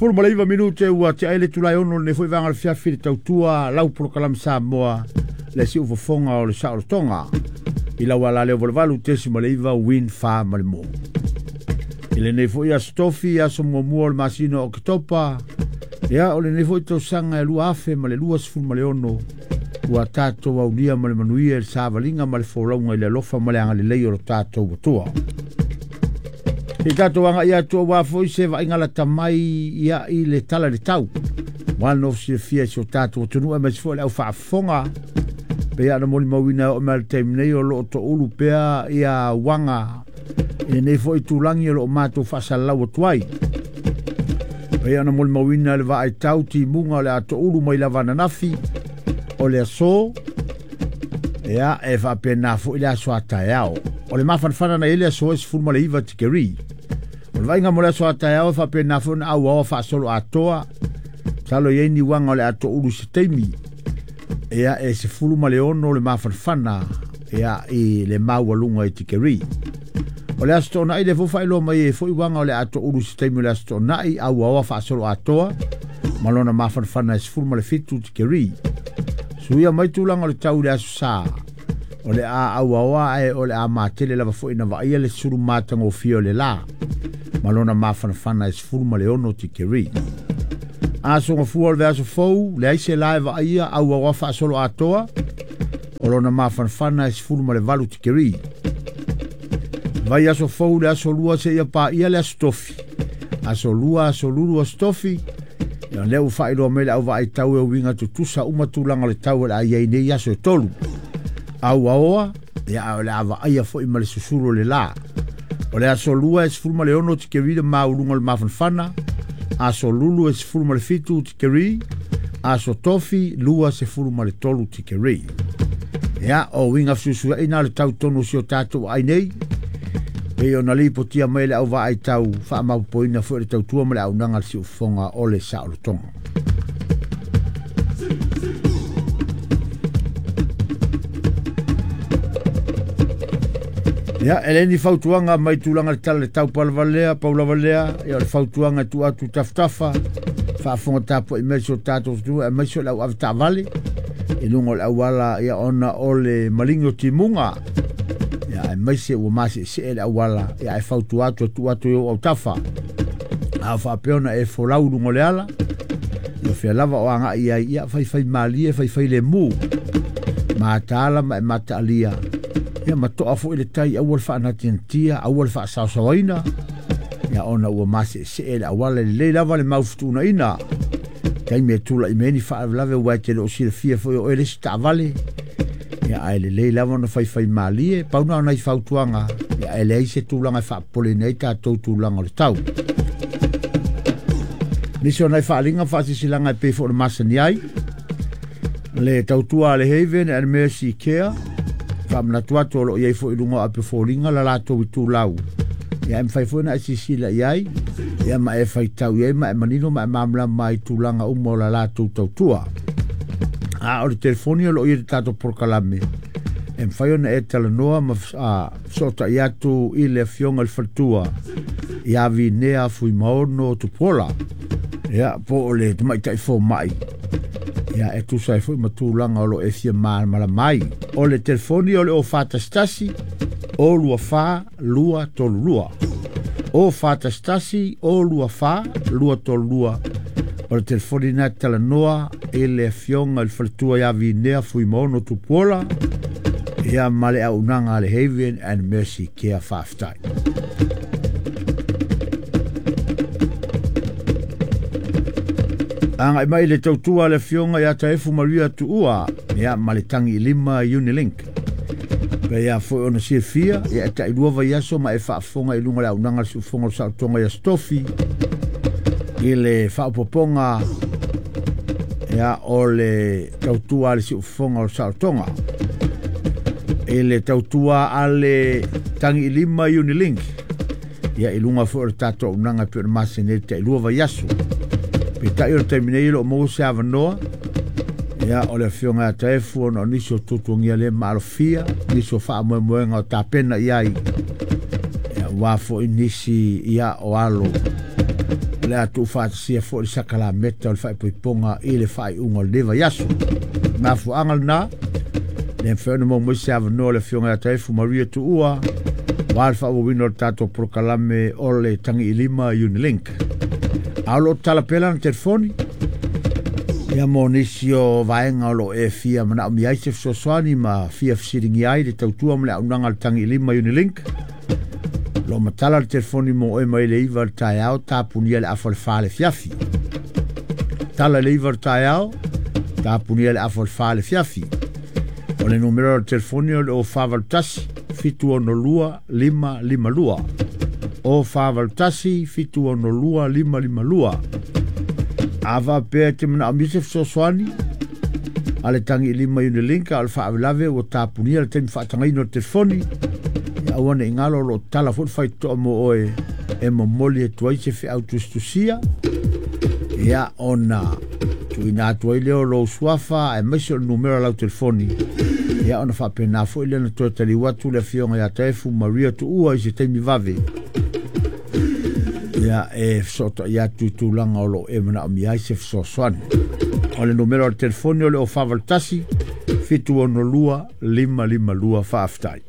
19 minute ua te aile tulai ono le foi vanga le fiafi le tautua lau polokalame Samoa le si ufofoga o le saolotoga i lau ala leo 8.9 win fa ma le mo. I lenei foi aso tofi aso muamua o le masina o Oketopa, ia o lenei foi tausaga e 2026 ua tatou aulia ma le manuia i le savaliga ma le folauga i le alofa ma le agalelei o lo tatou Atua. Se i tatou agai atu aua foi se vaaiga lata mai ia i le tala i le tau. Ua nofo silafia i si o tatou atunuu aemaise foi le au faafofoga. Pei lava ona molimauina e oo mai le taimi nei o lo o toulu pea ia uaga i lenei foi itulagi o lo o matou faasalalau atu ai. Pei ona molimauina le vaai tau timuga o le a toulu mai lava ananafi o le aso, ia e faapena foi le aso a taeao. O le mafanafana na i le aso e 19 tikeri. O le vaaiga mo le aso a taeao e faapena foi na auaoa faasolo atoa. Masalo i ai ni uaga o le a toulu i se taimi. Ia e 16 le mafanafana ia i le maualuga i tikeri. O le aso toonai le foi faailoa mai e foi uaga o le a toulu i se taimi o le aso toonai auaoa faasolo atoa ma lona mafanafana e 17 tikeri. Suia mai tulaga o le tau i le aso sa. O le a auaoa ae o le a matele lava foi na vaaia le sulu matagofie o le la ma lona mafanafana e 16 tikeri. Aso gafua o le aso fou, leai se la e vaaia auaoa faasolo atoa o lona mafanafana e 18 tikeri. Vai aso fou le aso lua se ia paia le aso tofi. Aso lua, aso lulu, aso tofi. Ia lea ua faailoa mai le au vaai tau e uiga tutusa uma tulaga o le tau o le a i ai nei aso e tolu. Auaoa, ia o le a vaaia foi ma le susulu o le la. O le aso lua e 16 tikeri le mauluga o le mafanafana. Aso lulu e 17 tikeri. Aso tofi 23 tikeri. Ia, o uiga fesuisuiaina le tau tonu o si o tatou ai nei. Pei ona lipotia mai le au vaai tau faamapopoina foi le tautua ma le auaunaga a le siufofoga o le saolotoga. Ia, e le ni fautuaga mai tulaga le tala le tau palavalea, paulavalea, ia o le fautuaga e tuu atu tafatafa, faafofoga tapuai mai si o tatou atunuu aemaise o le au avetaavale i luga o le auala, ia ona o le maligi o timuga. Ia, aemaise ua maseesee le auala, ia ae fautua atu e tuu atu i ou autafa. A o faapea ona e folau i luga o le ala, ia fea lava o agai ai, ia faifai malie, faifai lemu. Mataala ma e mataalia, ia ma toa foi le tai aua le faanatinatia, aua le faasaosaoaina, ia ona ua maseesee le auala e lelei lava le maufutuunaina. Taimi e tulai mai ai ni faalavelave ua e te le o silafia foi o oe le isi taavale, ia ae lelei lava ona faifai malie, pau na o nai fautuaga, ia ae leai se tulaga e faapopoleina ai tatou tulaga o le tau. Nisi o nai faaaliga faasisilaga e pei foi o le masani ai, le tautua a le Haven and Mercy Care, faamanatu atu o lo o i ai foi i luga o api o foliga la latou itulau. Ia e mafai foi ona e silasila i ai, ia ma e faitau i ai ma e manino ma e malamalama ai i tulaga uma o la latou tautua. A o le telefoni o lo o i ai le tatou polokalame, e mafai ona e talanoa ma fesootai atu i le afioga i le faletua ia Vinea Fuimaono Tupuola, ia po o le tamaitai fomai, ia e tusa ai foi ma tulaga o lo o e fia malamalama ai. O le telefoni o le 041 024 232. 041 024 232. O le telefoni na talanoa i le afioga i le faletua ia Vinea Fuimaono Tupuola, ia ma le auaunaga a le Haven and Mercy Care. Faafetai. Agai mai le tautua a le afioga ia Taefu Maria Tuua, ia ma le tagi i lima Unilink. Pei a foi ona silafia, ia e tailua vaiaso ma e faafofoga i luga o le auaunaga a le siufofoga o le saolotoga i Aso Tofi i le faaopoopoga ia o le tautua a le siufofoga o le saolotoga i le tautua a le tagi i lima Unilink, ia i luga foi o le tatou auaunaga e pei ona masani ai le tailua vaiaso. Peitai o le taimi nei e le o maua se avanoa, ia o le afioga ia Taefu ona o nisi o tuatuagia le maalofia, nisi o faamoemoega o tapena i ai, ia ua foi nisi ia o alo O le a tuufaatasia foi le sakalameta o le faaipoipoga i le faaiuga o lenei vaiaso. Mafuaaga lena, le mafai ona maua mai se avanoa o le Afioga ia Taefu Maria Tuua aua le faaauauina o le tatou polokalame o le Tagiilima Unilink. A o lo o tatala pea lana telefoni ia mo nisi o vaega o lo o e fia manaomia ai se fesoasoani ma fia fesiligia ai le tautua ma le auaunaga a le Tagiilima Unilink. O lo o matala le telefoni mo oe mai le 9 i le taeao tapunia le afa o le 4 i le afiafi. Tala i le 9 i le taeao, tapunia le afa o le 4 i le afiafi. O le numera o le telefoni o le 0481 762 552. 0481 762 552. A faapea e te manaomia se fesoasoani a le Tagiilima Unilink, a o le faalavelave ua tapunia le taimi faatagaina o le telefoni, ia aua ne i galo o lo o tatala foi le faitotoa mo oe e momoli atu ai se feau tusitusia, ia ona tuuina atu ai lea o lou suafa aemaise o le numera o lau telefoni, ia ona faapena foi lea na toe taliu atu le Afioga ia Taefu Maria Tuua i se taimi vave, ia e fesootai atu i tulaga o lo o e manaomia ai se fesoasoani. O le numera o le telefoni o le 0481 762 552. Faafetai.